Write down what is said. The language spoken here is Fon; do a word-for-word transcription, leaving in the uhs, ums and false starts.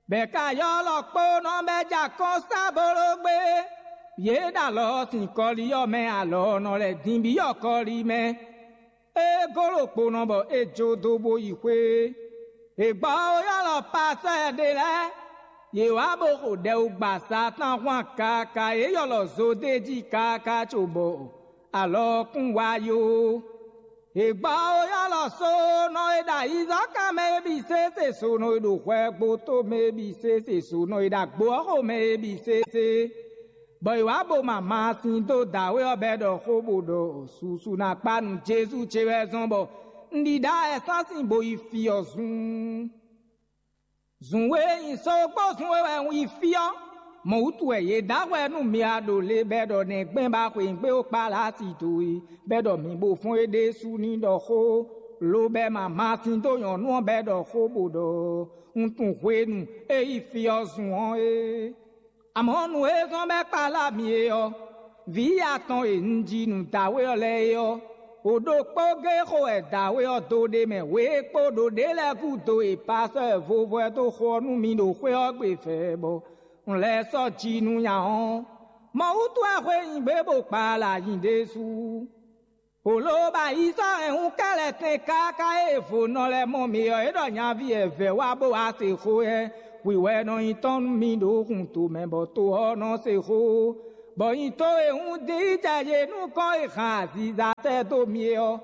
Bɛ̌ ka ylɔ́ kpónɔ bɛ́ ja kɔn sá boló gbé. Yě ɖo alɔ ɔ́ sin kɔlí ɔ́ mɛ, alɔ ɔ́ nɔ lɛ́ din byɔ́ kɔlí mɛ. É golo kpónɔ bɔ é jó dó bó yi xwé. È gbɔ ó ylɔ́ pasɔ́ ɖé lɛ́ɛ. Yě wá bó xo ɖɛwúgbasá tɔn hwan kaka, yě ylɔ́ zodéjí kaka cóbɔ alɔ ɔ́ kún wá yó. È gbɔ ó ylɔ́ sónɔ e ɖo ayizɔ́kan mɛ é bǐ sésé, sónɔ e ɖo hwɛ gbo tó mɛ é bǐ sésé, sónɔ e ɖo agbo ɔ́ xo mɛ é bǐ sésé. Bɔ è wǎ bo ma ma sin dó dǎwe ɔ́ bɛ́ ɖɔ xó bó ɖɔ susu ná kpá nú Jezu ce wɛ zɔ́n bɔ un ɖi ɖa ɛsásin bo yi fí ɔ́ zun. Zun e nyi sógbó zun e wɛ un yi fí ɔ́, mɔ̌ wútu wɛ yě dó ahwɛ nú mi a ɖo le bɛ́ ɖɔ nɛgbɛ́n ba xweyǐgbe ó kpá Lasi dó e, bɛ́ ɖɔ mi bo fɔ́n é ɖésú ní ɖɔ xó, lobɛ ma ma sin dó nyɔ̌nu ɔ́ bɛ́ ɖɔ xó bó ɖɔ un tunwun hwenu e yi fí ɔ́ zun ɔ́ é. Amɔ̌ nǔ e zɔ́n bɔ é kpalá mi é ɔ́, vǐ atɔn e un ji nú dǎwe ɔ́ lɛ́ɛ é ɔ́, o ɖokpó géé xo wɛ dǎwe ɔ́ dó ɖ'é mɛ. Wě e kpo ɖo ɖě lɛ́ɛ gúdo e pasɔ́ e vovo ɛ dó xo ɔ́ nú mi ɖo xwé ɔ́ gbe vɛ̌ bɔ un lɛ́ sɔ́ ji nú nya ɔ́, mɔ̌ wútu wɛ xweyǐgbe bo kpalá nyi ɖésú. Hǒló bɔ ayi sɔ́ hɛn hun kɛ́lɛtɛn káká e vo nɔ lɛ́ɛ mɔ mi ɔ́, é ɖɔ nyaví ɛvɛ wá bó wá se xó ɛ, hwi wɛ nɔ nyí tɔn nú mi ɖo hun tomɛ bɔ to ɔ́ nɔ se xó, bɔ nyi to e hun dín jɛ yě nukɔn e hɛn aziza sɛ́ dó mi é ɔ́,